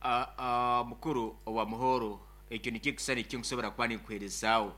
Mukuru owa Muhoro, ekyo nikyo ekisani ekinkusobora kuba ninkuherezaaho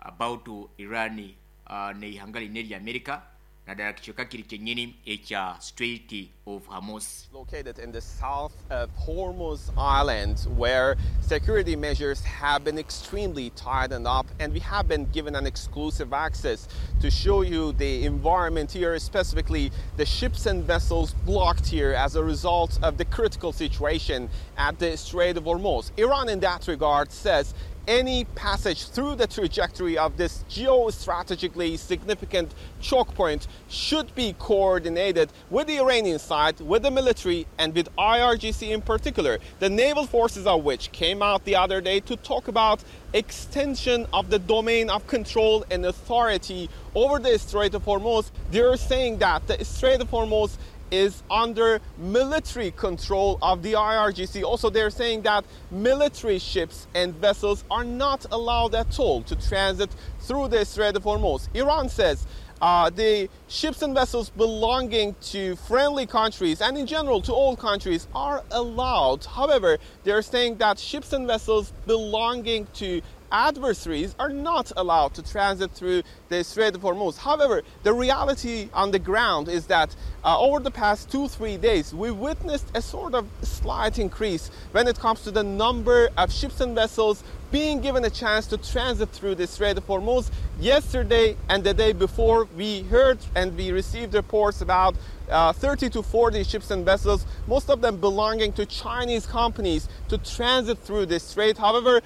about Iran n'eihanga linu erya America, naddala kicweka kiri kyenyini ekya Strait of Hormuz. Located in the south of Hormuz Island, where security measures have been extremely tightened up, and we have been given an exclusive access to show you the environment here, specifically the ships and vessels blocked here as a result of the critical situation at the Strait of Hormuz. Iran, in that regard, says any passage through the trajectory of this geostrategically significant choke point should be coordinated with the Iranian side, with the military, and with IRGC in particular, the naval forces of which came out the other day to talk about extension of the domain of control and authority over the Strait of Hormuz. They're saying that the Strait of Hormuz is under military control of the IRGC. Also, they're saying that military ships and vessels are not allowed at all to transit through the Strait of Hormuz. Iran says the ships and vessels belonging to friendly countries and in general to all countries are allowed. However, they're saying that ships and vessels belonging to adversaries are not allowed to transit through the Strait of Hormuz. However, the reality on the ground is that over the past 2-3 days, we witnessed a sort of slight increase when it comes to the number of ships and vessels being given a chance to transit through the Strait of Hormuz. Yesterday and the day before, we heard and we received reports about 30 to 40 ships and vessels, most of them belonging to Chinese companies, to transit through the strait. However,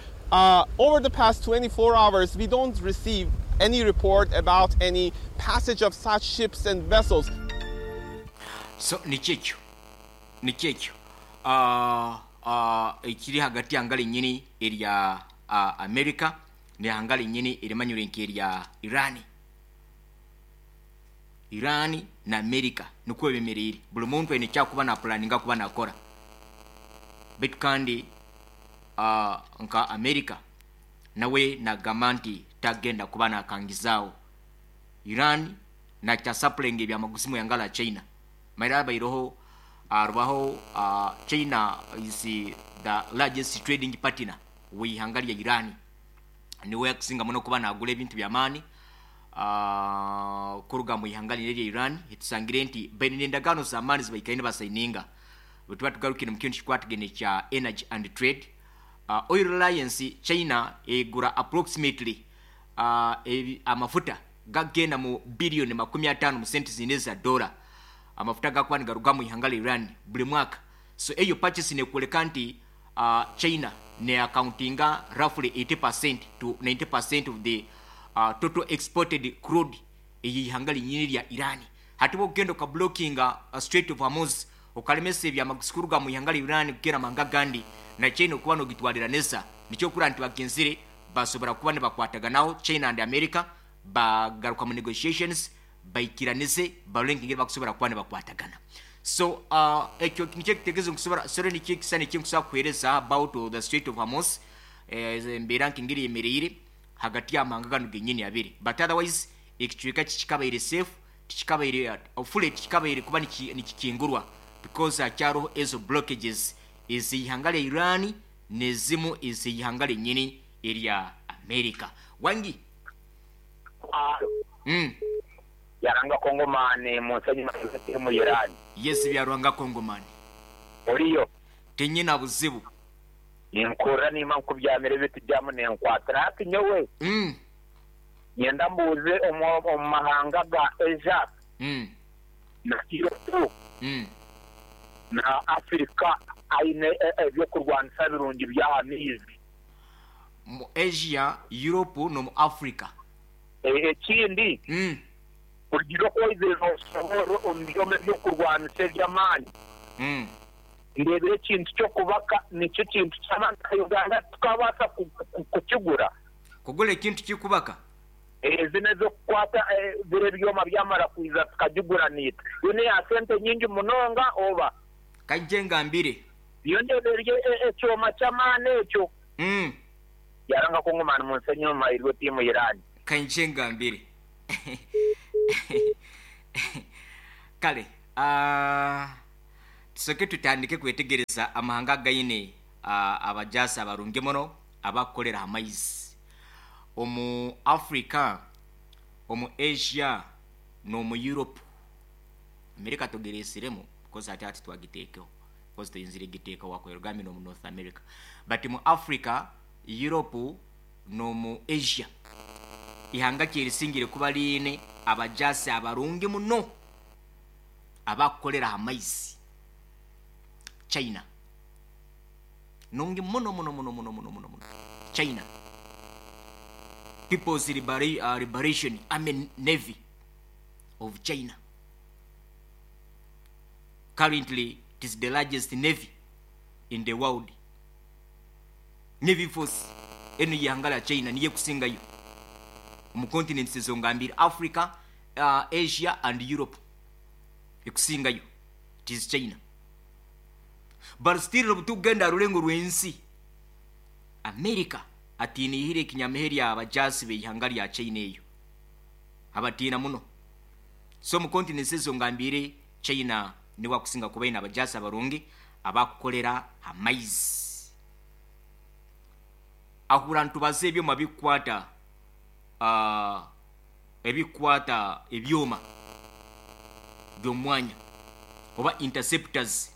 over the past 24 hours, we don't receive any report about any passage of such ships and vessels. So nikyo ekyo, nikyo ekyo ekiri hagati y'ihanga rinyini erya America n'ihanga rinyini erimanyirwe nk'erya Iran. Iran na America nikwo bemereire. Buri muntu aine eki arikuba napulaninga kuba nakora. Beitu kandi nka America nawe nagamba nti tagenda kuba nakangizaaho Iran nakyasapulayinga ebyamaguzi omu ihanga rya China. Manyire habaireho harubaho China is the largest trading partner w'eihanga rya Iran. Niwe arikusinga muno kuba nagura ebintu by'amaani kuruga omu ihanga rinu erya Iran. Tusangire nti baine n'endagaano z'amaani ezi baikaire nibasayininga. Bwetuba tugarukire omu kintu ekikwatagaine kya energy and trade, oil reliance China egura approximately amafuta gakugenda mu billion 50 mu sente zindi eza dola, amafuta agakuba nigaruga omu ihanga rya Iran buri mwaka. So eyo purchase nekworeka nti China ne accountinga roughly 80% to 90% of the total exported crude ey'eihanga rinyini rya Iran. Hati bwokugenda oka blockinga Strait of Hormuz, okaremesa ebyamaguzi kuruga omu ihanga rya Iran kugenda omu mahanga agandi, na China okuba nogitwariranisa, nikyo okurora nti bagenzire basobora kuba nibakwataganaho, China and America bagaruka mu negotiations, baikiranize barole nk'engeri bakusobora kuba nibakwatagana. So ekyo nikyo ekitegezo nkusobora, sorry, nikyo ekisani ekinkusobora kukuhereza about the Strait of Hormuz, embeera nk'engeri eyemereire hagati y'amahanga ganu genyini abiri. But otherwise ekicweka kikikabaire safe, tikikabaire fully, tikikabaire kuba nikikingurwa because hakyaroho ezo blockages ez'eihanga rya Iran n'ezimu ez'eihanga ryenyini erya America. Wangi? Byaruhanga Kongomani munsi enyuma tiri mu Iran. Yes Byaruhanga Kongomani. Oriyo? Tinyina buzibu. Ninkuhurira niima nkubyamire ebintu byamu nenkwatira hati nyowe nyenda mbuuze omu mahanga ga Asia na Europe na Africa aine ebyokurwanisa birungi byaha maizi? Mu Asia, Europe nomu Africa. Ekindi, kurugiirira oku waizire nooshoboorora omu byoma eby'okurwanisa eby'amaani, ndeebire ekintu ky'okubaka nikyo kintu ky'amaani nka Uganda titukabaasa kukigura. Kugura ekintu ky'okubaka? Zinu ez'okukwata biri ebyoma byamara kwija tukagigura naitwe. Yo n'eya sente nyingi munonga oba? Kaije ngambire. Yo ndeeba eri ekyoma ky'amaani ekyo. Yaranga Kongomani munsi enyuma eriho tiimu Iran. Kaije ngambire. Kale. Tusoke tutandike kwetegereza amahanga againe abajasi abarungi muno abakukolera amaizi omu Africa, omu Asia n'omu Europe. America tugiresiremu because ati ati twagiteekeho because tuyinzire giteeka wakwerugambye n'omu North America, but mu Africa, Europe n'omu Asia, ihanga kyerisingire kuba liine abajasi abarungi muno abakukolera amaizi? China. Nungi muno muno muno muno muno muno muno. China People's Liberation Army Navy of China, currently it is the largest navy in the world. Navy force eno yihanga lya China niye kusingayo mu continents ezo ngambire, Africa, Asia and Europe. Ekusingayo it is China. But still, obutugenda rulengo rw'ensi, America atiinihire ekinyamaheri abajasi beihanga lya China eyo, abatiina muno. So mu continents ezo ngambire, China niwe akusinga kuba ine abajasi abarungi abakukolera amaizi. Ahura ntubaze ebyoma bikwata ebikwata ebyoma by'omwanya oba interceptors.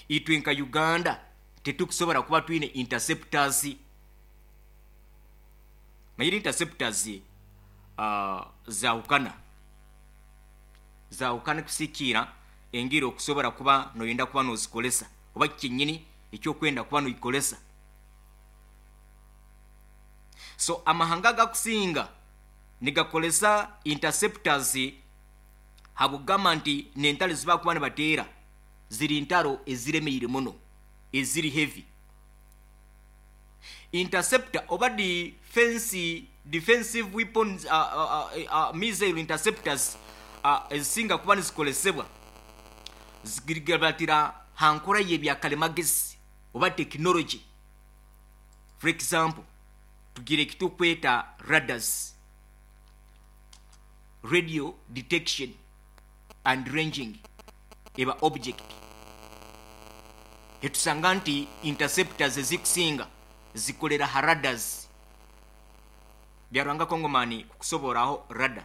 Itwe nka Uganda tetukusobola kuba twine interceptors. Mayire interceptors zawukana zawukana kusikiira engeri okusobola kuba noyenda kuba nozikolesa oba kyenyini ekyokwenda kuba noikolesa. So amahanga gakusinga nigakolesa interceptors habugamba nti nentalo zibakuba nibateera ziri ntaro eziremeire muno, eziri heavy. Interceptor oba defensive weapons, missile interceptors ezisinga kuba nizikolesebwa zigirigabatira hankora yebyakalimagezi oba technology. For example, tugire ekitukweta radars, radio detection and ranging eba object. Etusanga nti interceptors ezikusinga zikolera ha radars. Byarwanga Kongomani kukusoboraho radar.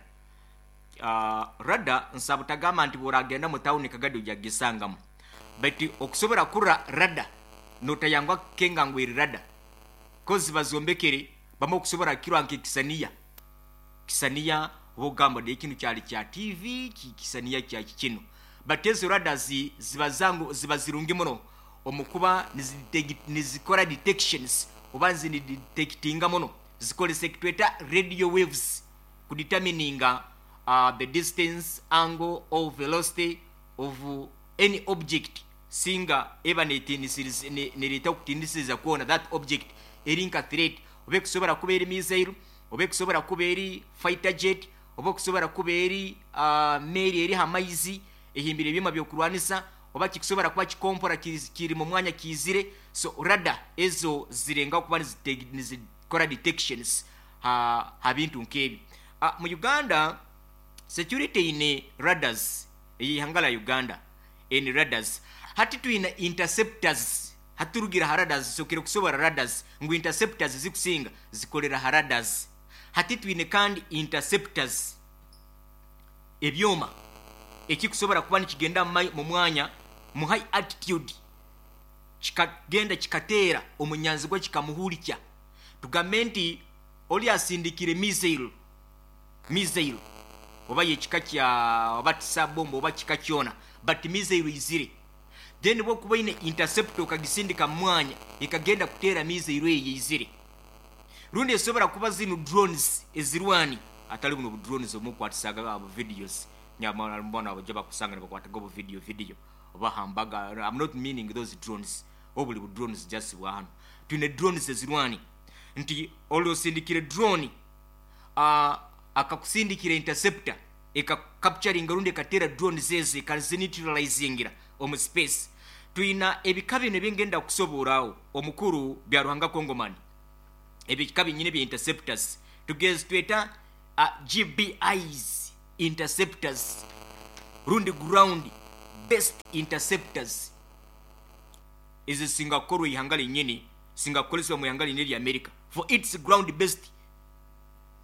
Radar nsaba tagamba nti bw'oragenda mu tawuni Kagadi ojja kugisangamu, but okusobora kurra radar notayangwa kukenga ngu eri radar, kozi bazombekere bamwe okusobora kirwa nk'ekisaniya kisaniya oba ogamba de kinu kyali kya TV, kisaniya kya kino. But ezo radars ziba zangu ziba zirungi muno omukuba nizikora detections oba zinidetectinga muno, zikolesa ekitweta radio waves kudetermininga the distance, angle or velocity of any object singa eba nereta okutinisiriza kwona that object eri nka threat, oba ekusobora kuba eri missile, oba ekusobora kuba eri fighter jet, oba okusobora kuba eri meri eri hamaizi ehimbire ebyoma byokurwanisa, oba kikusobora kuba kikompora kiri mu mwanya kizire. So radar ezo zirenga kuba nizikora detections ha bintu nk'ebyo. Mu Uganda security ine radars, eyihanga la Uganda eni radars. Hati twina interceptors, haturugira ha radars. Sokere kusobora radars ngu interceptors zikusinga zikolera ha radars. Hati twine kandi interceptors, ebyoma ekikusobora kuba nikigenda mu mwanya mu high altitude, kikagenda kikateera omunyanzigwa kikamuhulikya. Tugambe nti oli asindikire missile oba yekika kya oba tisabomba oba kika kyona, but missile izire, then bwokuba ine interceptor okagisindika mu mwanya ekagenda kuteera missile eyo izire. Rundi esobora kuba zino drones ezirwani, atali buno bu drones omukwatisaga abo videos nyamara mbona abajja bakusanga nibakwataga obu video oba hambaga. I'm not meaning those drones, obuli bu drones just bwa hano. Twine drones ezirwani nti olwosindikire drone akakusindikira interceptor ekacapturinga rundi ekatera drones ezo ekazineutralizingira omu space. Twina ebika bino ebingenda kusoborawo omukuru Byaruhanga Kongomani, ebika binyine bya interceptors tugezi tweta GBIs interceptors. Rundi ground based interceptors ezisinga kukorwa ihanga linyini, singa kukolesebwa mu ihanga linyini lya America for its ground based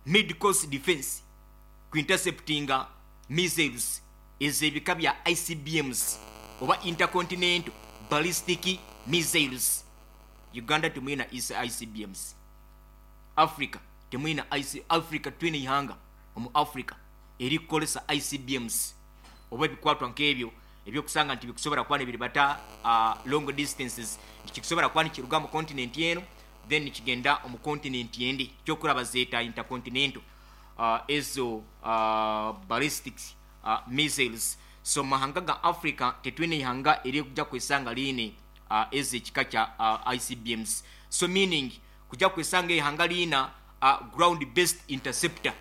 mid course defense kuinterceptinga missiles ez'ebika bya ICBMs oba intercontinental ballistic missiles. Uganda temwina ICBMs, Africa temwina IC, Africa twine ihanga omu Africa erikukolesa ICBMs oba ebikwatwa nk'ebyo ebyokusanga nti bikusobora kuba nibiribata long distances, nti kikusobora kuba nikiruga mu continent eno then nikigenda omu continent endi, kyokuraba zeeta intercontinental ezo ballistic missiles. So mahanga ga Africa tetwine ihanga erikuja kwesanga liine ezo ekika kya ICBMs. So meaning kuja kwesanga ihanga liina ground based interceptor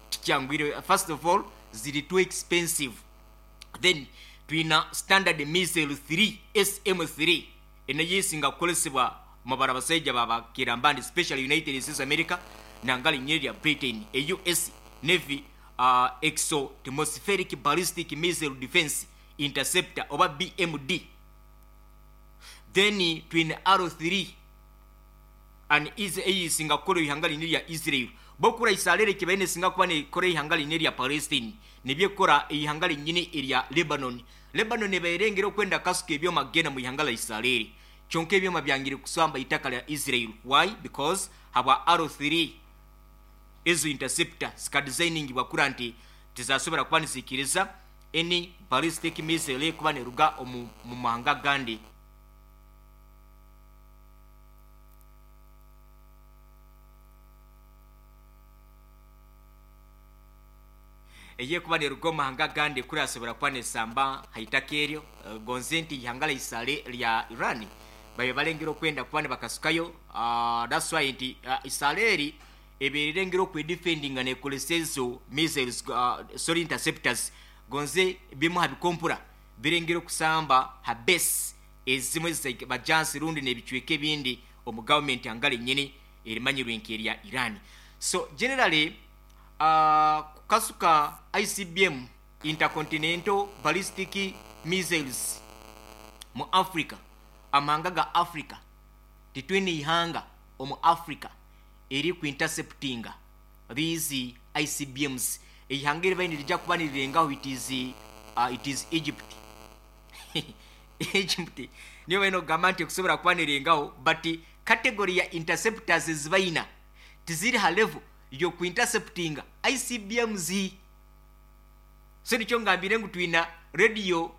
tikyangwire. First of all ziri too expensive. Then twina standard missile 3 SM3 enayo esinga kukolesebwa mabara basaija babakirambandi, especially United States America nanga linyeri lya Britain, a US Navy exoatmospheric ballistic missile defense interceptor oba BMD. Then twina R3 an is eyisinga kukola ihanga lini lya Israel. Bokura isalere kibaine singa kuba ne kora ihanga lini lya Palestine, nibyekora ihanga linyini erya Lebanon. Lebanon ebairengera okwenda kasuka ebyoma gena mu ihanga la Israel, kyonka ebyoma byangire kusamba itaka lya Israel. Why? Because habwa R3 ezo interceptor zika designing bwakura nti tizasobora kuba nizikiriza any ballistic missile kuba neruga omu mu mahanga gandi. Eye kuba neruga omu mahanga gandi kuri asobora kuba nesamba haitaka eryo. Gonze nti ihanga la Israel lya Iran babe balengera okwenda kuba nibakasukayo. That's why nti Israeli eberengera okwedefendinga nekolesa ezo missiles, sorry interceptors. Gonze bimu habikompura birengera okusamba ha base ezimwe bajansi rundi nebicweka ebindi omu government angale nyini erimanyirwe nk'erya Iran. So generally kukasuka ICBM intercontinental ballistic missiles mu Africa, amahanga ga Africa titwine ihanga omu Africa eri ku interceptinga these ICBMs. Ihanga eribaine lijja kuba nirirengaho it is Egypt. Egypt niyo baine okugamba nti ekusobola kuba nirengaho, but category ya interceptors ezibaina tiziri ha level yoku interceptinga ICBMs. So nikyo ngambire ngu twina radio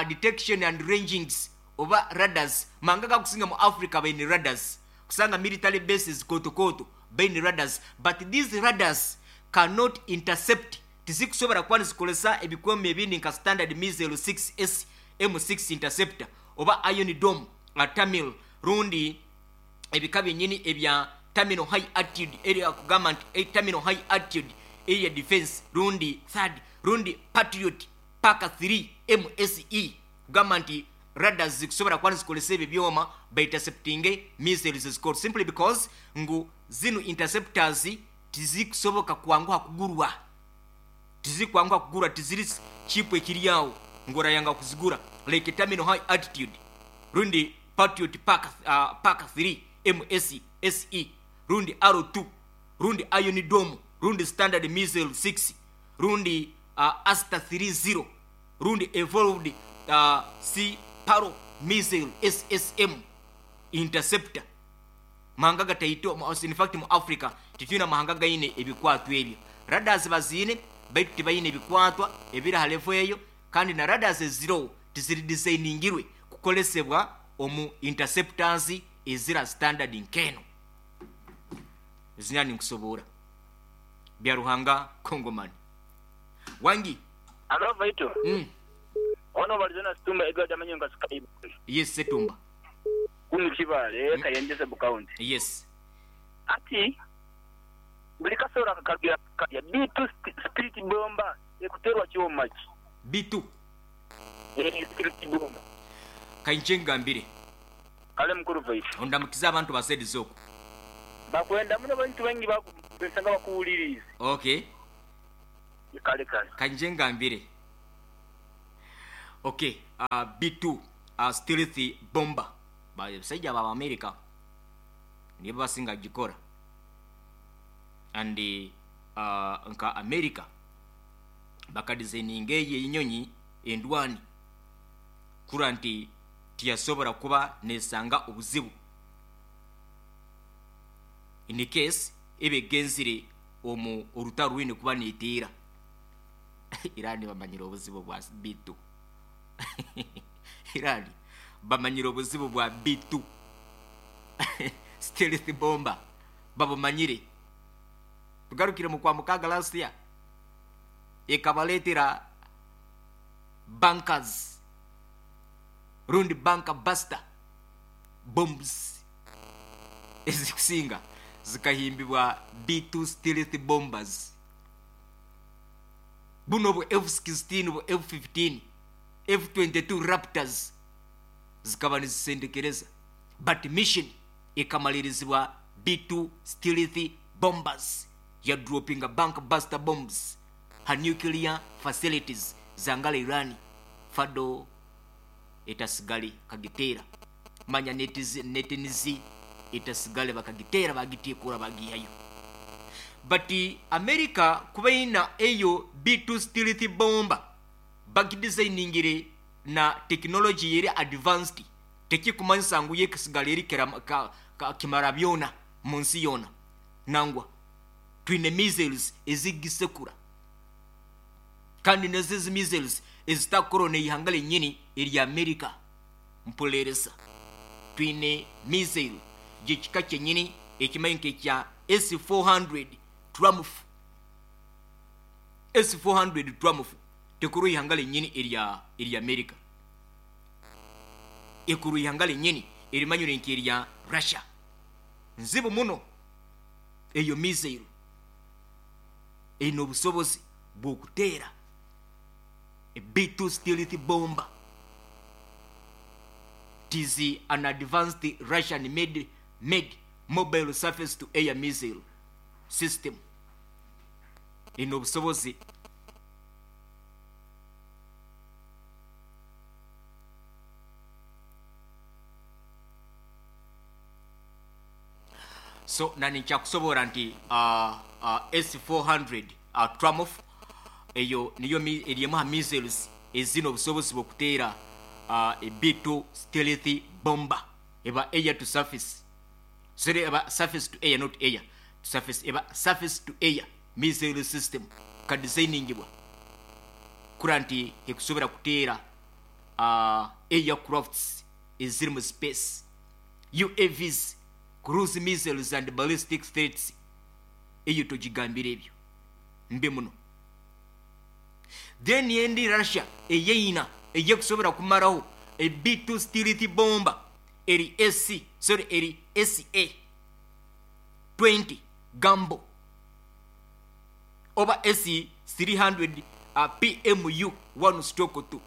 detection and rangings oba radars. Manga gakusinga mu Africa baine radars, kusanga military bases koto koto baine radars, but these radars cannot intercept. Tizikusobora kuba nizikolesa ebikwema ebindi nka standard missile 6S M6 interceptor oba Iron Dome Tamil rundi ebika byenyini ebya terminal high altitude area, kugamba nti terminal high altitude area defense rundi third rundi Patriot Pack 3 MSE, kugamba nti radars zikusobora kuba nizikolesa ebyo byoma by intercepting missiles zikora, simply because ngu zino interceptors tizikusoboka kwanguha kugurwa, tizikwanguha kugura, tiziri cheap ekiri awo ngorayanga kuzigura like terminal high altitude rundi Patriot Pack 3 MS SE rundi R2 rundi Iron Dome rundi standard missile 6 rundi Asta 30 rundi evolved C Paro missile SSM interceptor. Mahanga gataito, in fact mu Africa titwina mahanga gaine ebikwatwa ebyo. Radars bazine baitu tibaine ebikwatwa ebiri ha level eyo, kandi na radars eziro tiziri designingirwe kukolesebwa omu interceptors ezira standard nkeno. Zinyani nkusobora bya Ruhanga Kongomani wangi. Alo Vaito. Ono balizona Situmba Edward Amanyonga Skype. Yes Setumba. Kunu Kibale Kayenje Sub County. Yes. Ati buli kasora kakabya ya B2 street bomba ekuterwa kyoma ki. B2. Street bomba. Kainje ngambire. Kale mukuru Vaito. Ondamukiza abantu basedi zoko. Bakwenda muno bantu bangi bakubesanga bakuwuliriza. Okay. Kale kale. Kainje ngambire. Okay, B2 stealth bomber basajja aba America nibo basinga gikora. And nka America bakadesigninga eyo enyonyi endwani kura nti tiyasobora kuba nesanga obuzibu in case ebegenzire omu orutaro rwine kuba neteera. Irani bamanyire obuzibu bwa B2. Irani bamanyire obuzibu bwa B2 stealth bomber, babumanyire. Tugarukire mu kwa mukaga last year, ekabaletera bunkers rundi bunker buster bombs ezikusinga zikahimbibwa B2 stealth bombers. Buno bu F-16, bu F-15, F-22 Raptors zikaba nizisendekereza, but mission ekamalirizibwa B2 stealth bombers ya droppinga bunker buster bombs ha nuclear facilities zangala Irani. Fado etasigale kagitera manya netinizi etasigale bakagitera bagitikura bagihayo. But America kubaina eyo B2 stealth bomber bagidesigningire na technology yeri advanced, tekikumanyisa ngu yekisigala eri kimara byona mu nsi yona. Nangwa twine missiles ezigisekura, kandi nezizi missiles ezitakora neihanga lenyini erya America. Mpulereza, twine missile gyekika kyenyini ekimanyi nk'ekya S400 Triumph. S400 Triumph tekuru ihanga lenyini erya America, ekuru ihanga lenyini erimanyire nk'erya Russia. Nzibu muno eyo missile eno obusobozi bw'okuteera a B2 stealth bomber. It is an advanced Russian made mobile surface to air missile system. Eno obusobozi so nani nchakusobora nti S400 Triumph eyo niyo erimu ha missiles ezino obusobozi bw'okuteera a B2 stealth bomber eba air to surface, sorry, eba surface to air, not air to surface, eba surface to air missile system ka designingibwa kura nti ekusobora kuteera aircrafts eziri mu space, UAVs, cruise missiles and ballistic threats. Eyo togigambira ebyo mbi muno. Then endi Russia eyeina eyekusobora kumaraho a B2 stealth bomber eri SC, sorry, eri SA 20 Gambo oba SC 300 PMU 1/2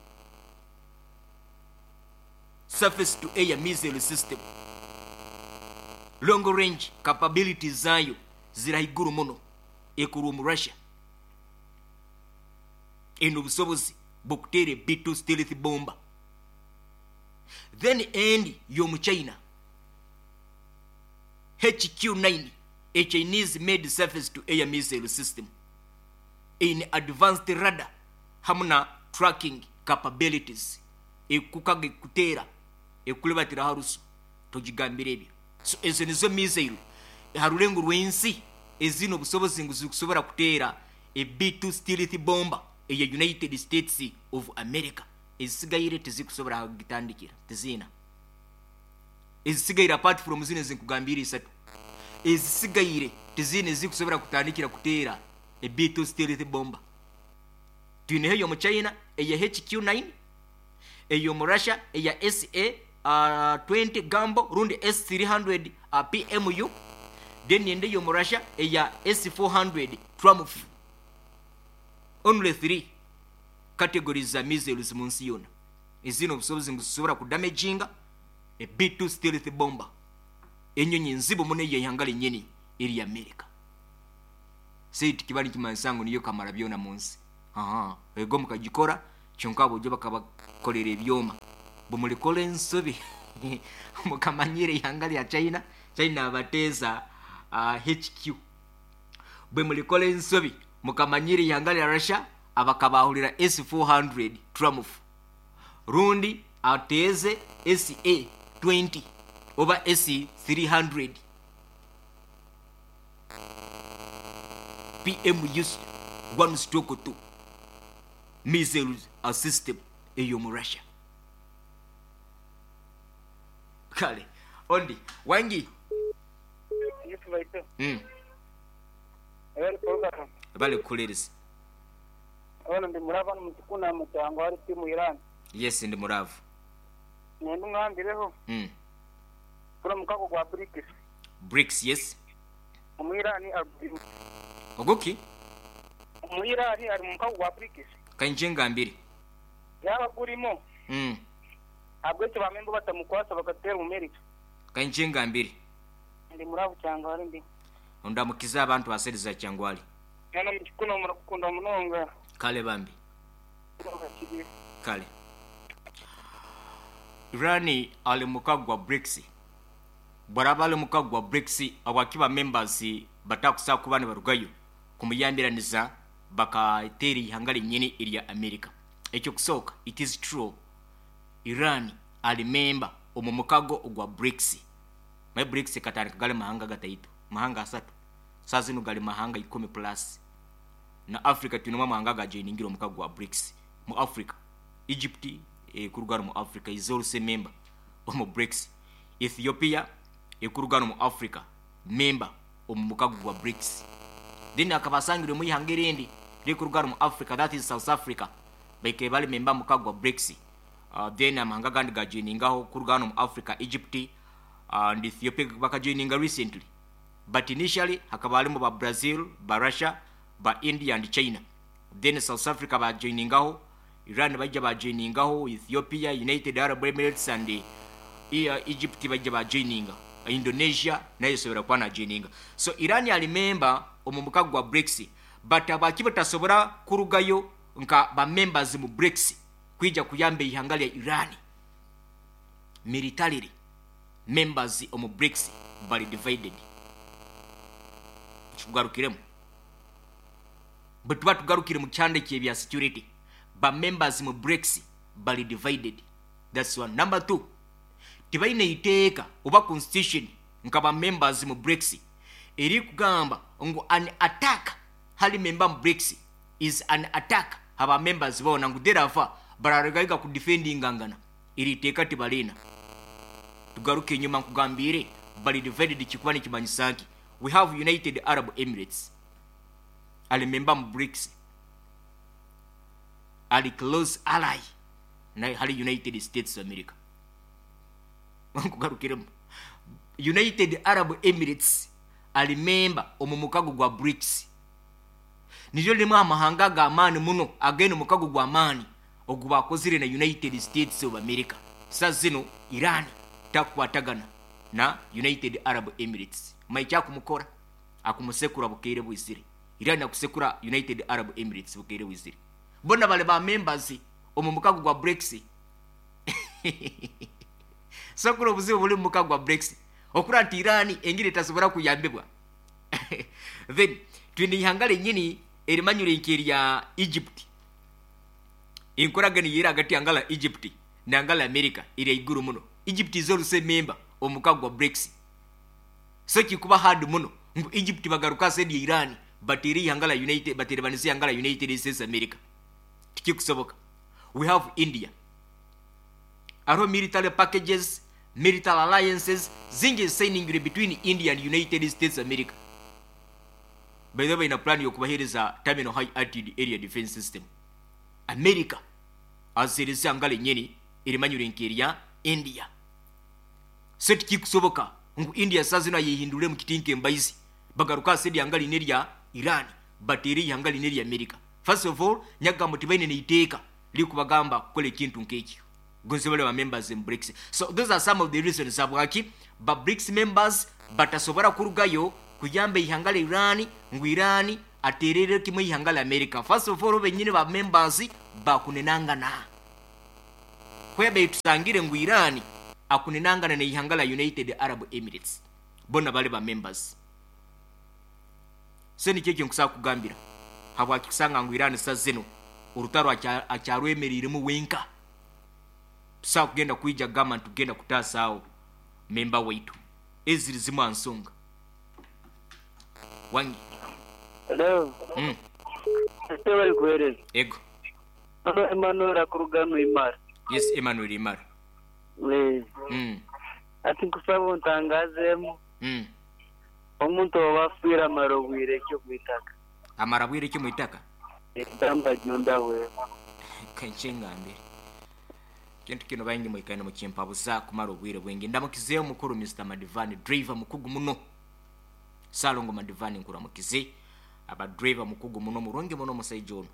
surface to air missile system. Long range capabilities zayo zirahiguru muno ekuru mu Russia. Eno obusobozi bw'okuteera B2 stealth bomber. Then endi y'omu China HQ9, a Chinese made surface to air missile system in advanced radar hamu na tracking capabilities, ekukaga ekuteera ekulibatira harusu togigambira ebyo. So ezo nizo missile harulengo rw'ensi ezino obusobozi ngu zikusobora kuteera a B2 stealth bomber eya United States of America. Ezisigaire tezikusobora kugitandikira, tezina ezisigaire apart from zino ezinkugambira isatu, ezisigaire tezina ezikusobora kutandikira kuteera a B2 stealth bomber. Twineho eyo mu China eya HQ9, eyo mu Russia eya SA 20 Gambo rundi S300 PMU, then ende yo mu Russia eya S400 Triumph. Only 3 categories za missiles mu nsi yona ezino obusobozi ngu zisobora kudamaginga a B2 stealth bomber, enyonyi nzibu muno ey'ihanga lenyini eri America. Sei tikibali kimansango niyo kamara byona mu nsi. Ego mukagikora Kyonka abojo bakabakolera ebyoma. Bumulikora ensobi mukamanyire ihanga lya China, China abateeza HQ. Bwe mulikora ensobi mukamanyire ihanga lya Russia abakabahurira S400 Triumph. Rundi ateeze SA20 oba S300 PMU 1/2 missiles a system ey'omu Russia. Kale ondi wangi. Yes baito. Ebali program. Bali kukulereza. Ono ndi muraavu hano mutukuna mutango ali timu Iran. Yes ndi muraavu. Nenda ongambireho. Guri omukago gwa BRICS. BRICS yes. Omu Iran agurimu. Oguki? Omu Iran ari mumukago gwa BRICS. Kainje ngambire. Yaaba gurimu. Ahabw'ekyo ba memba batamukwasa bakateera omu America. Kainje ngambire. Ndi muraavu Kyangwali ndi. Ondamukize abantu ba side za Kyangwali. Hano omu Kikuno murakukunda munonga. Kale bambi. Kale. Iran ali mukago gwa BRICS. Bwaraba ali mukago gwa BRICS habwaki ba members batakusobola kuba nibarugayo kumuyambiraniza bakateera eihanga ryenyini erya America. Ekyokusooka it is true Iran ali member omu mukago ogwa BRICS. Manya BRICS ekatandika gari mahanga gataito, mahanga asatu. Saaha zinu gari mahanga ikumi plus. Na Africa twinemu amahanga agajoiningire omukago gwa BRICS. Mu Africa, Egypt ekuruga hanu mu Africa is also a member omu BRICS. Ethiopia ekuruga hanu mu Africa member omu mukago gwa BRICS. Then hakaba hasangirwemu eihanga erindi ririkuruga hanu mu Africa that is South Africa baikaire bari member omu mukago gwa BRICS. Then amahanga agandi gajoiningaho kuruga hanu mu Africa Egypt and Ethiopia bakajoininga recently. But initially hakaba harimu ba Brazil, ba Russia, ba India and China. Then South Africa bajoiningaho, Iran baija bajoiningaho, Ethiopia, United Arab Emirates and Egypt baija bajoininga. Indonesia nayo esobora kuba najoininga. So Iran ali member omu mukago gwa BRICS but habwaki batasobora kurugayo nka ba members mu BRICS kwija kuyamba eihanga lya Iran militarily? Members omu BRICS bari divided. Kikugarukiremu. Bwe tuba tugarukire mu kyanda eky'ebya security, ba members mu BRICS bari divided. That's one. Number two, tibaine iteeka oba constitution nka ba members mu BRICS erikugamba ngu an attack hali member mu BRICS is an attack ha ba members boona ngu therefore bararugaiga kudefendingangana. Eri iteeka tibariina. Tugaruke enyima nkugambiire bari divided kikuba nikimanyisa nki? We have United Arab Emirates ari member mu BRICS, ari close ally na hari United States of America. Nkugarukiremu. United Arab Emirates ari member omu mukago gwa BRICS. Niryo rimwe aha mahanga ag'amaani muno againe omukago gw'amaani ogu baakozire na United States of America. Saaha zinu Iran takukwatagana na United Arab Emirates. Manya ekyakumukora? Akumusekura bukeire bwizire. Iran akusekura United Arab Emirates bukeire bwizire. Bona bari ba members omu mukago gwa BRICS. So kuri obuzibu buri omu mukago gwa BRICS okura nti Iran engiri etasobora kuyambibwa. Then twine eihanga ryenyini erimanyirwe nk'erya Egypt. Enkoragana eyeri ahagati y'ihanga rya Egypt n'ihanga rya America eri ahaiguru muno. Egypt is also a member omu mukago gwa BRICS. So kikuba hard muno ngu Egypt bagaruka aha side ya Iran bateere eihanga rya United bateerebanise eihanga rya United States America. Tikikusoboka. We have India. Hariho military packages, military alliances zingi ezisayiningirwe between India and United States America. By the way baine plan y'okubaheereza Terminal High Altitude Area Defense System. America aziheereza ihanga ryenyini erimanyirwe nk'erya India. So tikikusoboka ngu India saaha zinu ayehinduremu kiti nk'embaizi bagaruka aha side ihanga rini erya Iran bateere eihanga rini erya America. First of all nyakugamba tibaine n'eiteeka ririkubagamba kukora ekintu nk'ekyo gonze bari ba members in BRICS. So those are some of the reasons habwaki ba BRICS members batasobora kurugayo kuyamba eihanga rya Iran ngu Iran Aterere kimwe ihanga la America. First of all, benyini ba members bakunenangana. Kwebe tusangire ngu Iran akunenangana ne ihanga la United Arab Emirates. Bona bali ba members. So nikyo nkusaba kugambira. Habwaki kusanga ngu Iran sa zino orutaro akyarwemereiremu wenka. Tusawa kugenda kwija gamba ntugenda kutaasaawo memba waitu. Eziri zimu ansonga. Wangi. Hello. Ese bali kuhereza. Ego. Ano Emmanuel akuruga Imara. Yes, Emmanuel Imara. Ati nkusaba ontangazemu. Omuntu owafiira amara obwire ki omwitaka? Amara bwire ki omwitaka? Egamba junda wewe. Kanchengambire. Kintu kino baingi mwikaine mukimpabuza kumara obwire bwingi. Ndamukizeyo mukuru Mr. Madivani, driver mukugu muno. Salongo Madivani nkuramukize. Aba driver mukugu muno murungi muno musaija ono.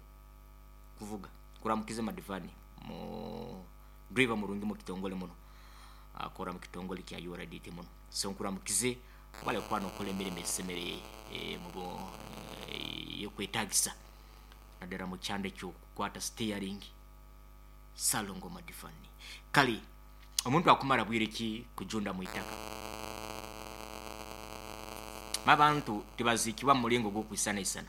Kuvuga. Kuramukize Madivani. Mu driver murungi mu kitongole muno. Akora mu kitongole kya URDT muno. So nkuramukize wale kwano okola emirimo esemere mu yokwetagisa. Naddala mu kyanda ekyokukwata steering. Salongo Madivani. Kale omuntu akumara bwire ki kujunda mu itaka. Mabantu tebazikibwa mu mulingo gw'okwisanaisana.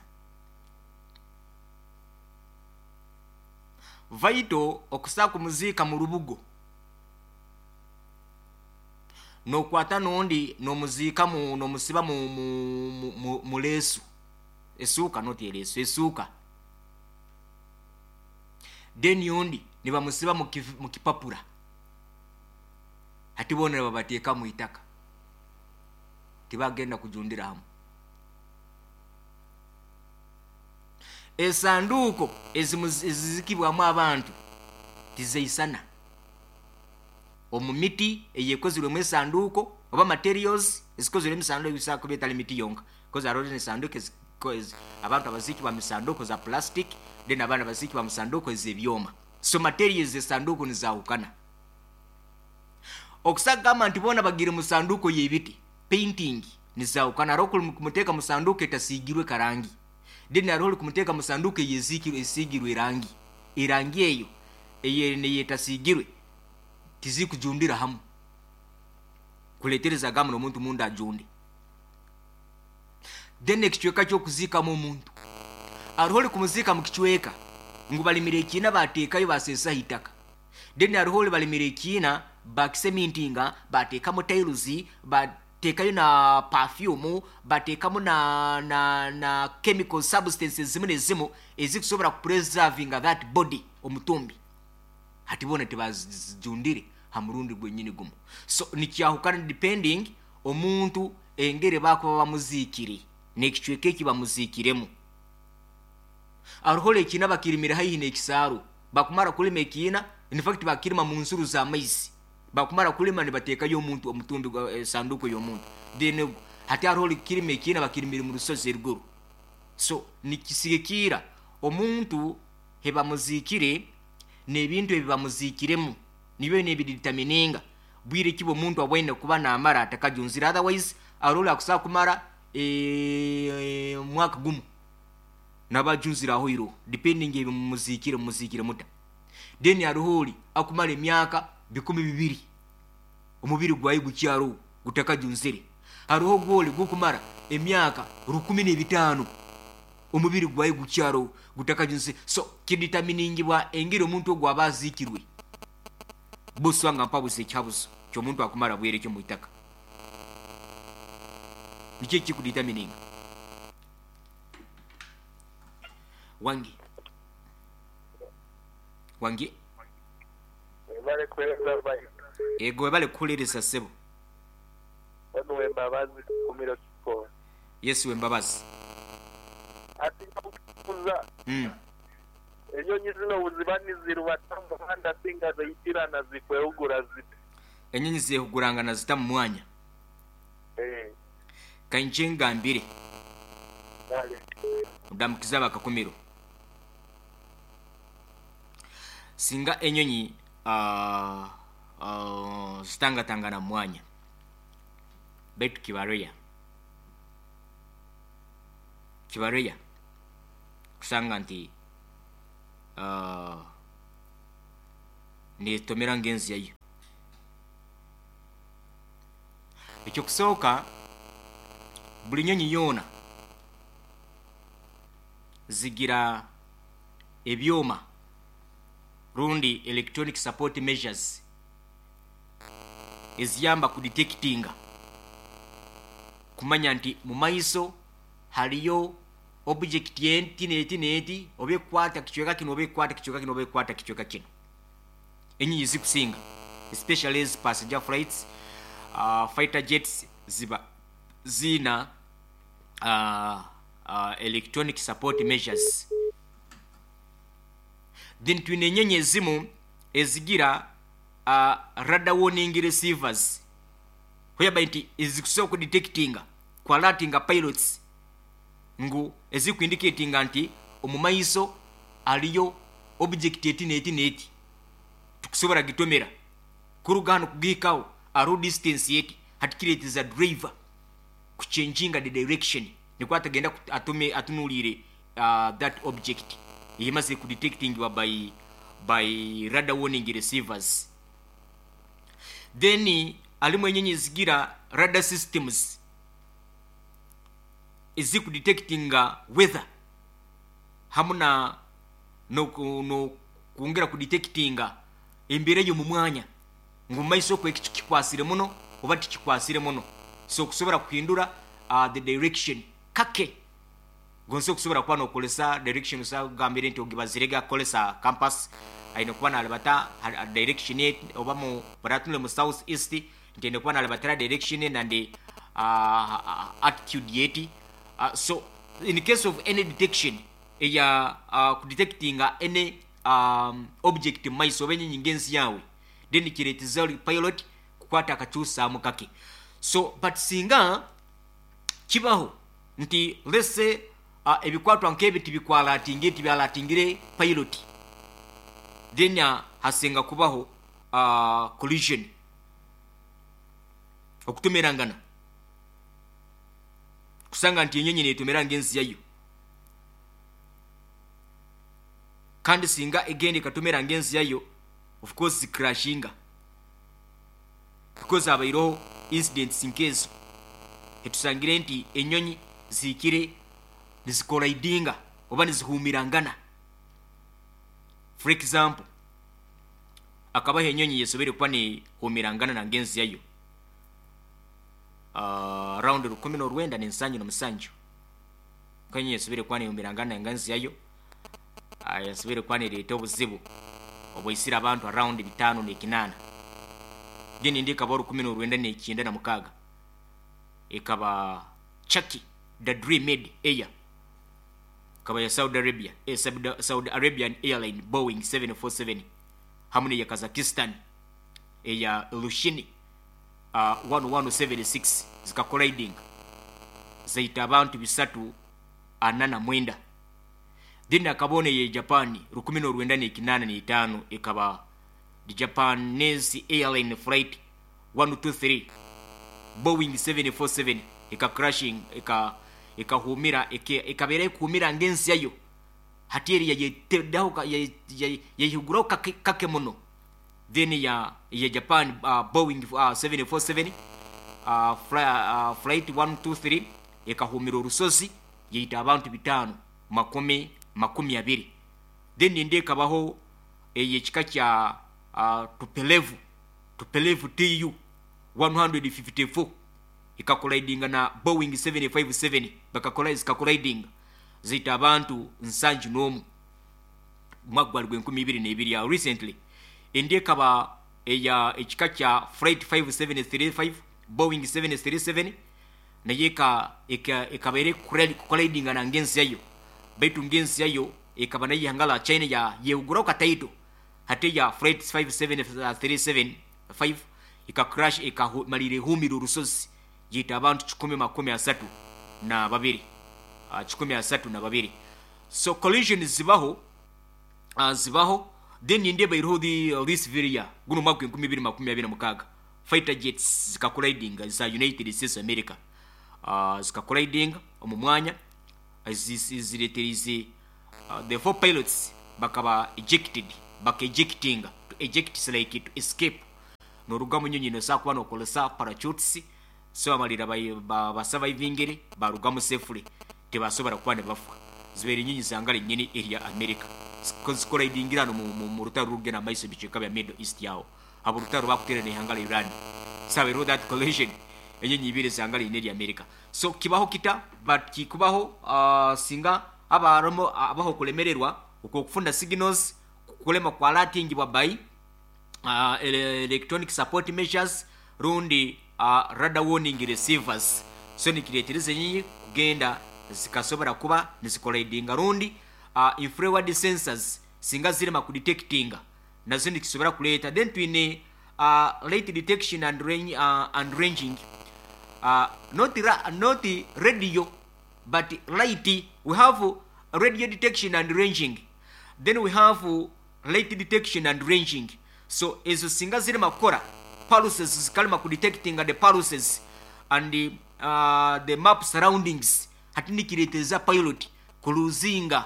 Vaito okusaa kumuziika mu lubugo. N'okwata n'ondi n'omuziika mu n'omusiba mu leesu. Esuuka noti ereesu, esuuka. Then ondi ne bamusiba mu kipapula. Ati boona ne babateeka mu itaka. Tibagenda kujundira hamu. Esanduuko ezizikibwamu abantu tizeisana. Omu miti eyekozirwemu esanduuko oba materials ezikozirwemu esanduuko ebisobola kuba etali miti yonka. Because hariho esanduuko abantu abazikibwa mu sanduuko za plastic, then abandi abazikibwa mu sanduuko ez'ebyoma. So materials esanduuko nizaahukana. Okusagamba nti boona bagire mu sanduuko y'ebiti, painting nizaahukana. Hariho okumuteeka mu sanduuko etasiigirwe karangi. Then hariho okumuteeka mu sanduuko esiigirwe erangi. Erangi eyo eyetasiigirwe tizikujundira hamu. Kuletereza gamu n'omuntu munda ajunde. Then ekicweka ky'okuziikamu omuntu. Hariho orikumuziika mu kicweka ngu balimire ekiina bateekayo baseesaho itaka. Then hariho ori balimire ekiina bakisemintinga bateekamu tiles, bateekayo na perfume, bateekamu na chemical substances zimu nezimu ezikusobola kupreservinga that body omutumbi. Hati boona tebazijundire ha murundi gwenyini gumu. So nikyahukana depending omuntu engeri bakuba bamuziikire n'ekicweka eki bamuziikiremu. Hariho ekiina bakirimire haihi n'ekisaaru. Bakumara kulima ekiina, in fact bakirima mu nsuru z'amaizi. Bakumara kulima nibateekayo omuntu omutumbi gwa sanduuko y'omuntu. Then hati hariho kirima ekiina bakirimire mu rusozi eruguru. So nikisigikira omuntu hebamuziikire n'ebintu ebi bamuziikiremu nibyo n'ebidetermininga bwire ki omuntu abwaine kuba naamara atakajunzire. Otherwise hariho akusobola kumara mwaka gumu nabajunzire aho iroho depending ebi mumuziikire mumuziikire muta. Then hariho ori akumara emyaka 2000 omubiri gwawe gukyariho gutakajunzire. Hariho gwori gukumara emyaka 1500 omubiri gwawe gukyariho gutakajunzire. So kideterminingibwa engeri omuntu ogwo aba aziikirwe. Buswanga mpabuze ekihabuzo ky'omuntu akumara bwire kyo mu itaka. Nikyo ekikudetermininga. Wangi. Wangi. Webale kuhereza bayi. Ego webale kuhulereza sebo. Wano wembabazi kumiro kiko. Yesu wembabazi. Ati kuza. Enyonyi zino buziba nizirubata mu muhanda singa ziyitirana zikwehugura zite. Enyonyi zehugurangana zita mu mwanya. Kainje ngambire. Dale. Ndamukiza bakakumiro. Singa enyonyi zitangatangana mu mwanya. Baitu kibareya. Kibareya. Kusanga nti netomera ngenzi yayo. Ekyokusooka, buli nyonyi yoona zigira ebyoma rundi electronic support measures eziyamba kudetectinga, kumanya nti mu maiso haliyo object enti neti neti, oba ekwata kicweka kino, oba ekwata kicweka kino, oba ekwata kicweka kino. Enyinyi zikusinga, especially as passenger flights, fighter jets, ziba zina electronic support measures. Then twine enyenyi ezimu ezigira radar warning receivers, whereby nti ezikusobola kudetectinga, kualertinga pilots ngu ezikuindicatinga nti omu maiso aliyo object eti neti neti, tukusobola gitomera kuruga hano kugiikawo aro distance yeti. Hati kireeteza driver kuchanginga the direction, nikwo atagenda atume atunuulire that object eyemaze kudetectingibwa by radar warning receivers. Then alimu enyenyi zigira radar systems ezikudetectinga weather hamu na no kwongera kudetectinga embeera y'omu mwanya, ngu maiso okwo ekicu kikwasire muno oba tikikwasire muno, so okusobola kuhindura the direction kake gonse okusobola kuba nokolesa direction. Osagambire nti ogibazirege akolesa compass, aine kuba nalibata direction oba mu baratunule mu south east, nti aine kuba nalibatira direction and attitude yeti. So in case of any detection eya kudetectinga any object mu maiso oba enyinyi ngenzi yawe, then kireeteza pilot kukwata akakyusaamu kake. So but singa kibaho nti let's say ebikwatwa nk'ebi tibikwalatinge, tibyalatingire pilot, then hasinga kubaho collision, okutumirangana, kusanga nti enyonyi netumira ngenzi yayo. Kandi singa egenda ekatumira ngenzi yayo, of course zikrashinga, because abaireho incidents nkezo etusangire nti enyonyi zihikire nizikolidinga oba nizihumirangana. For example, akabaho enyonyi yesobere kuba nehumirangana na ngenzi yayo around 1977, kwenye yesobere kuba nehumirangana na ngenzi yayo, yasobere kuba nereeta obuzibu obwaisire abantu around 508. Then indi ekaba 1996, ekaba Chaki the Dream Made Air, ekaba ya Saudi Arabia, Saudi Arabian Airline Boeing 747, hamu neya Kazakhstan eya Ilyushin 1176, zikakoliding zaita abantu 349. Then akabona ye Japan 1985, ekaba the Japanese Airline Flight 123 Boeing 747, eka crashing, ekahumira, ekabeera ekuhumira ngensi yayo. Hati eri yayetedaho, yayihuguraho kake muno. Then ya Japan Boeing 747 flight 123 ekahumira orusozi, yaita abantu 520. Then indi ekabaho eyekika kya Tupolev TU 154, ekakolidinga na Boeing 757, bakakola zikakolidinga zaita abantu 71, mwaka gwali gwa 2002 ya recently. Indi ekaba eya ekika kya flight 5735 Boeing 737, naye ekabaire kukolidinga na ngenzi yayo, baitu ngenzi yayo ekaba nayo ihanga la China ya yehuguraho kataito. Hati ya flight 57375 ika crash, ikamalira ehumira orusozi, yaita abantu 132, 132. So collision zibaho, zibaho. Then indi ebaireho this very year, guno mwaka 2026, fighter jets zikakolidinga za United States America, zikakolidinga omu mwanya, zireeterize The four pilots bakaba ejected, baka ejectinga. To eject is like to escape. Noruga mu nyonyi nosobola kuba nokozesa parachutes, so bamalira basurvivingire barugamu safely, tebasobora kuba nibafa. Zibaire nyonyi zangara enyini erya America zikoraidingira hano mu rutaro rugenda maiso ebicweka bya Middle East yaho abo rutaro bakuteera n'ihanga lya Iran. Sabereho that collision, enyonyi ibiri zangara ine erya America. So kibaho kita, but kikubaho singa abaromo abaho kulemererwa okufuna signals, kulema kwalatingibwa by electronic support measures rundi radar warning receivers. So nikireetereza enyonyi kugenda zikasobora kuba nizikoraidinga, rundi infrared sensors singa zirema kudetectinga, nazo nikisobora kuleeta. Then twine light detection and range, and ranging, not radio but light. We have radio detection and ranging, then we have light detection and ranging. So ezo singa zirema kukora, pulses zikalema kudetectinga the pulses and the map surroundings, hati nikireeteza pilot kuluzinga,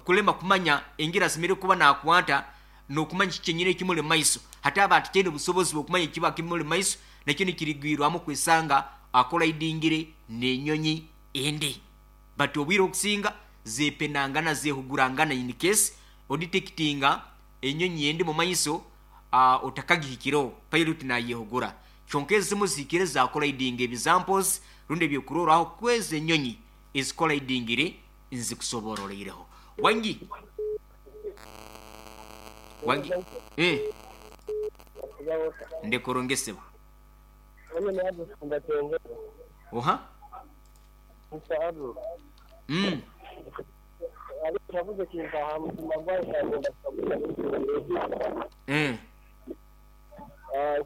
kulema kumanya engira asemere kuba nakwata n'okumanya kiki ekimuli maiso. Hati aba atikyene obusobozi bw'okumanya ekiba kimuli maiso, nakyo nikirigwirwamu kwesanga akolaidingire n'enyonyi endi. But obwire okusinga zepenangana, zehugurangana. In case odetectinga enyonyi endi mu maiso, otakagihikireho, pilot nayehugura. Kyonka ezimu zihikire zakolaidinga. Examples rundi ebyokurorraho kwezi enyonyi ezikolaidingire nzikusobororeireho. Wangi wangi, eh. Ndekurongesebwa oha.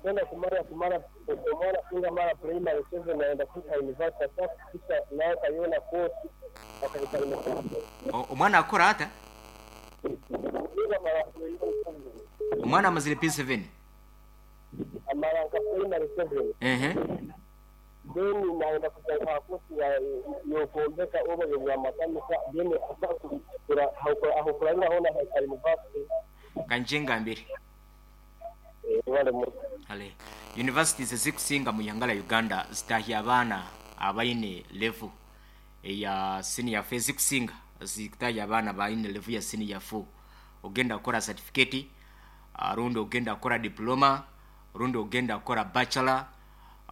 Kwenda kumara kumara funga mara primary 7 naenda kufika university, sasa kufika nayo kayona course akahita university. Omwana akora ata? Niga mara primary 7. Omwana amazire P7? Amara nka primary 7. Ehe. Then naenda kutanga course ya yokuombeka oba ya makanika, then akakura aho hona ka university. Kanje ngambire. Wale mu Ale universities ezikusinga mu ihanga lya Uganda zitahya abaana abaine level eya senior four. Ezikusinga zitahya abaana baine level ya senior 4. Ogenda kukora certificate, rundi ogenda kukora diploma, rundi ogenda kukora bachelor,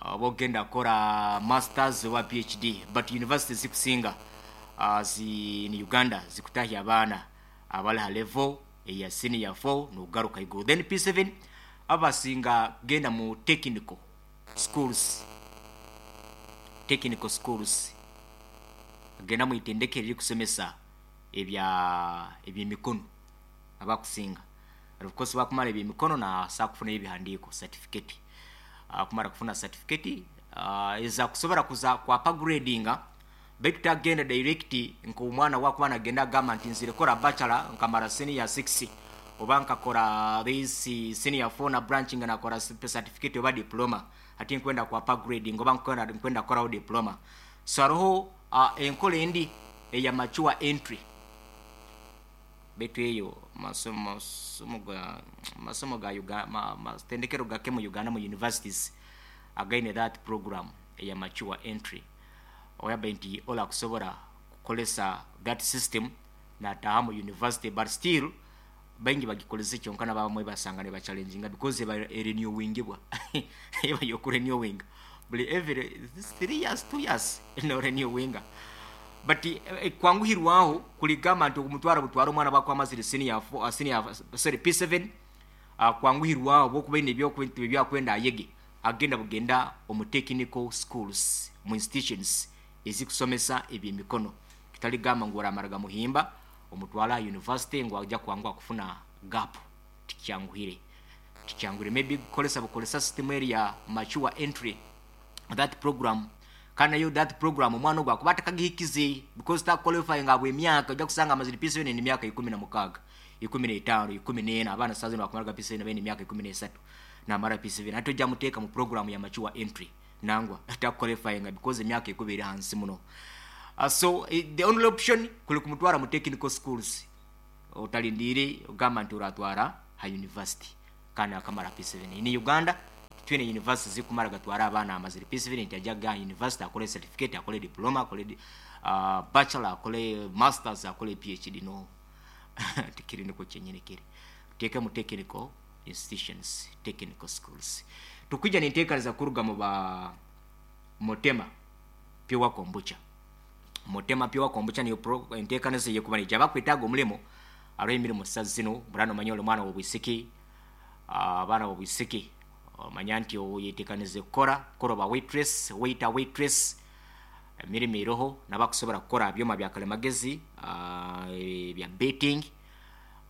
oba ogenda kukora masters oba PhD. But universities zikusinga zi ni Uganda zikutahya abaana abali ha level eya senior 4 nogaruka iguru. Then P7 abasinga genda mu technical schools, technical schools, genda mu itendekero erikusomesa ebya ebyemikono abakusinga. Of course bakumara ebyemikono na kufuna ebihandiiko, certificate. Kumara kufuna certificate, eza kusobora kuza kwa upgradinga, baitu tagenda direct nk'omwana wakuba nagenda agamba nti nzire kora bachelor nkamara senior 6 oba nkakora this senior 4 na branching nakora certificate oba diploma, ati nkwenda kwa upgrading oba nkwenda koraho diploma. So hariho enkola endi eya mature entry, baitu eyo masomo ga Uganda, matendekero gake mu Uganda mu universities againe that program eya mature entry, oyaba nti ola kusobora kukolesa that system nataha mu university. But still baingi bagikolesa, kyonka nabamwe basanga ne bachallenginga because eba renewingibwa, eba yokurenewing buli every 3 years, 2 years no renewinga. But kwanguhirwaho kuligamba nti okumutwara butwara omwana bakwamazire senior 4, senior, sorry, P7, kwanguhirwaho bwokuba ine ebyakwenda ayege, agenda bugenda omu technical schools, mu institutions ezikusomesa ebyemikono. Kitaligamba ngu oramaraga muhimba omutwala university ngu ajja kwanguha kufuna gap. Tikyanguhire, tikyanguhire. Maybe kukolesa bukolesa system eri ya mature entry, that program. Kandi nayo that program omwana ogwo akuba atakagihikize because taqualifying abwe emyaka. Ojja kusanga amazire P7 emyaka 16, 15, 14. Abaana saa zino bakumaraga P7 baine emyaka 13 namara P7. Ate ojja muteeka mu program ya mature entry, nangwa taqualifying because emyaka ekuba eri hansi muno. So the only option kuli kumutwara mu technical schools. Otalindiire ogamba nti oratwara ha university kandi akamara P7. Ini Uganda twine university zikumara gatwara abaana amazire P7 nti ajja ga university akole certificate, akole diploma, akole bachelor, akole masters, akole PhD. No, tikiri niko kyenyini kiri. Tuteeke mu technical institutions, technical schools. Tukwija ninteekaniza kuruga mu ba Motema Pure Kombucha. Motema Pure Kombucha niyo enteekaniza eyekuba nija bakwetaaga omulimo. Hariho emirimu sa zino burano omanya oli mwana w'obwisiki, abaana b'obwisiki omanya nti oyetekanize kukora kukora oba waitress, waiter, waitress, emirimu eroho. Nabakusobora kukora byoma bya kalimagezi, ebya betting,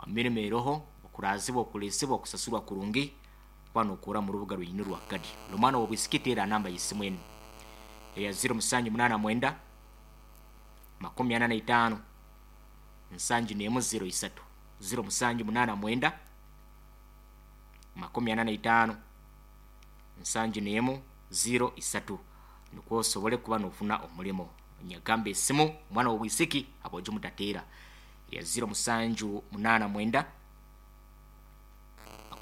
emirimu eroho, okurazibwa, okuliisibwa, okusasurwa kurungi kuba nokora mu rubuga rwenyini rwa Kagadi. Oli mwana w'obwisiki, teera namba y'esimu enu eya 079 45 71 03, 0789 45 71 03, nukwo osobole kuba nofuna omulimo. Nyagamba esimu mwana w'obwisiki abojo mutateera ya 0789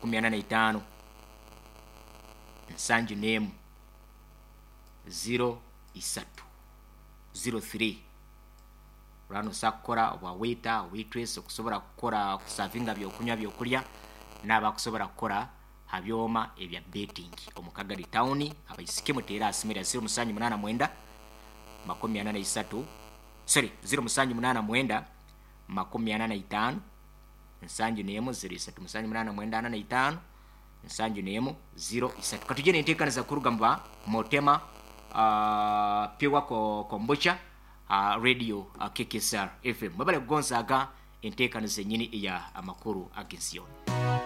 45 71 03, 03. Urano osobola kukora obwa waiter, waitress, okusobora kukora kusavinga byokunywa, byokulya, n'abakusobora kukora ha byoma ebya betting omu Kagadi town. Abaisiki muteere aha simu erya 0789 43, sorry, 0789 45 71 03, 789 45 71 03. Katujye nenteekaniza kuruga mu ba Motema Pure Kombucha, radio KKSR FM. Mwebale kugonzaaga enteekaniza enyini eya amakuru ag'ensi yoona.